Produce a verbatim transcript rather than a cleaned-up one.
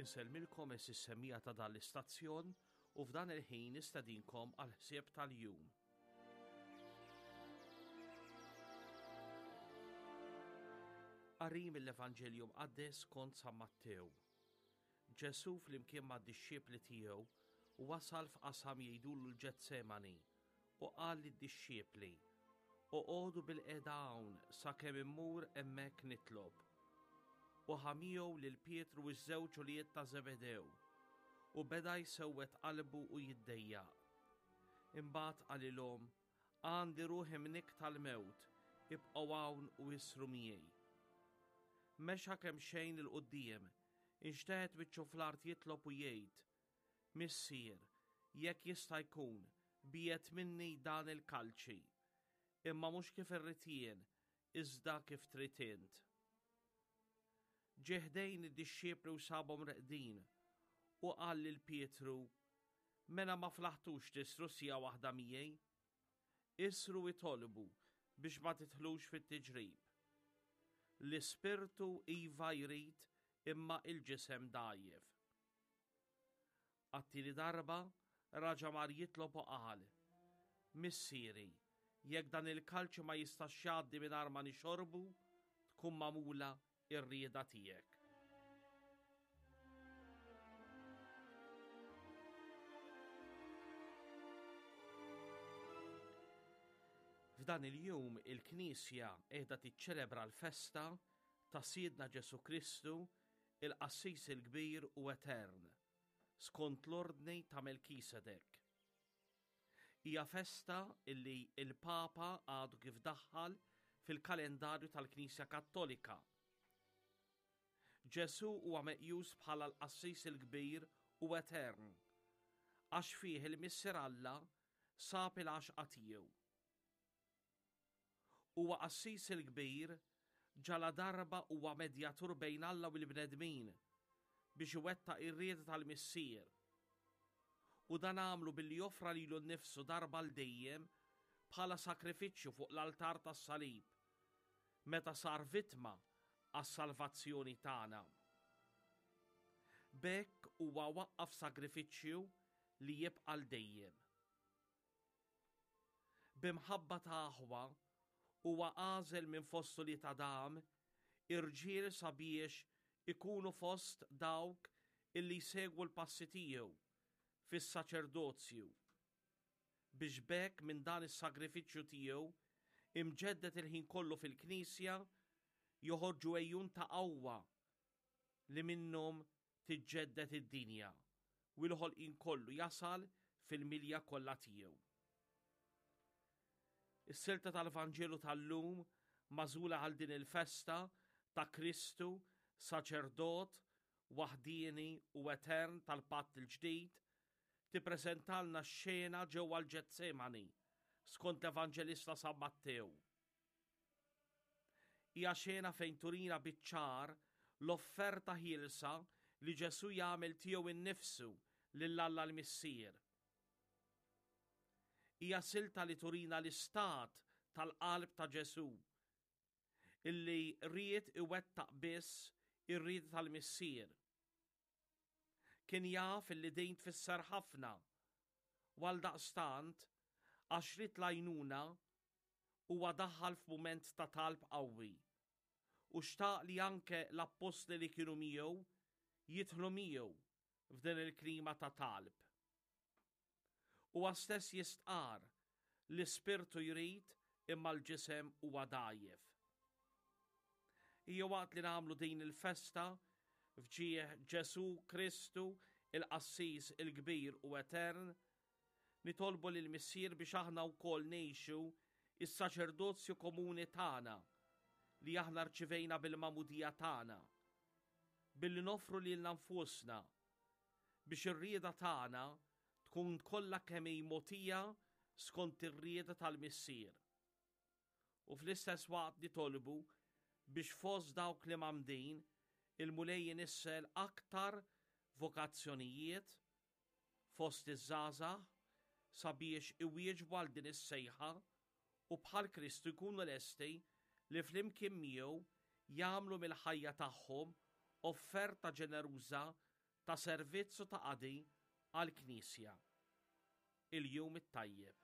Insellmilkom is-semmija ta' dan l-istazzjon u f'dan il-ħin nistedinkom għal ħsieb tal-jum. Qari mill-Evanġelju Mqaddes kont San Mattew. Ġesù flimkien mad-dixxipli tiegħu wasal f'qasam jgħidulu l-Ġetsemani u qal lid-dixxipli: Oqogħdu bil-qiegħda hawn sakemm immur hemmhekk nitlob. U ħa miegħu lil Pietru u ż-żewġ ulied ta' Zebedew u beda jsewwed qalbu u jiddejjaq. Imbagħad qalilhom: Għandi ruħi mnikk tal-mewt, ibqgħu hawn u isru miegħi. Mexa kemm xejn 'il quddiem, inxteħet wiċċu fl-art jitlob u jgħid: Missier, jekk jista' jkun, biegħed minni dan il-kalċi, imma mhux kif irrid jien, iżda kif trid int. Ġie ħdejn id-dixxipli u sabhom reqdin, u qal lil Pietru: Mela ma flaħtux tisru siegħa waħda miegħi? Isru itolbu biex ma tidħlux fit-tiġrib. L-ispirtu iva jrid imma il-ġisem dgħajjef. Għat-tieni darba raġa' mar jitlob u qal: Missieri, jekk dan il-kalċi ma jistax jgħaddi mingħajr ma nixorbu, tkun magħmula ir-rieda tiegħek. F'dan il-jum il-Knisja qiegħda tiċċelebra l-festa ta' Sidna Ġesù Kristu, il-Qassis il-Kbir u Etern, skont l-ordni ta' Melkisedek. Hija festa illi il-Papa għadu kif daħħal fil-kalendarju tal-Knisja Kattolika. Ġesù huwa meqjus bħala l-Qassis il-Kbir u Etern, għax fih il-Missier Alla sab il-għaxqa tiegħu. Huwa Qassis il-Kbir ġala darba huwa medjatur bejn Alla u l-bnedmin biex iwettaq ir-rieda tal-Missier. U dan għamlu billi joffra lilu nnifsu darba l dejjem bħala sakrifiċċju fuq l-altar tas-salib, meta sar vittma għas-salvazzjoni tagħna. B'hekk huwa waqqaf sagrifiċċju li jibqa' l dejjem. B'imħabba ta' aħwa huwa għażel minn fost ulied Adam irġiel sabiex ikunu fost dawk illi jsegwu l-passi tiegħu fis-saċerdozju, biex b'hekk minn dan is-sagrifiċċju tiegħu imġeddet il-ħin kollu fil-Knisja joħorġu għejun ta' qawwa li minnhom tiġġedded id-dinja u l-ħolqien kollu jasal fil-milja kollha tiegħu. Is-silta tal-Vanġelu tal-lum magħżula għal din il-festa ta' Kristu, saċerdot, waħdieni u etern tal-Patt il-Ġdid, tippreżentalna x-xena ġewwa l-Ġetsemani skont l-Evanġelista San Mattew. Hija xena fejn turina biċ-ċar l-offerta ħielsa li Ġesù jagħmel tiegħu innifsu lil Alla l-Missier. Hija silta li turina l-istat tal-qalb ta' Ġesù, illi ried iwettaq biss ir-rieda tal-Missier. Kien jaf illi din tfisser ħafna, u għaldaqstant għax ried l-għajnuna huwa daħal f'mument ta' talb qawwi u xtaq li anke l-appostli li kienu miegħu jidħlu miegħu f'din il-klima ta' talb. Huwa stess jistqar l-ispirtu jrid imma l-ġisem huwa dgħajjef. Hija waqt li nagħmlu din il-festa f'ġieħ Ġesù Kristu, il-Qassis il-Kbir u Etern, nitolbu lil Missier biex aħna wkoll ngħixu is-saċerdozju komuni tagħna li aħna rċivejna bil-magħmudija tagħna, billi noffru lilna nfusna biex ir-rieda tagħna tkun kollha kemm hi mogħtija skont ir-rieda tal-Missier. U fl-istess waqt nitolbu biex fost dawk li mgħammdin il-Mulej jinissel aktar vokazzjonijiet fost iż-żgħażagħ sabiex iwieġbu għal din is-sejħa u bħal Kristu jkunu lesti li flimkien miegħu jagħmlu mill-ħajja tagħhom offerta ġeneruża ta' servizz u ta' qadi għall-Knisja. Il-jum it-tajjeb.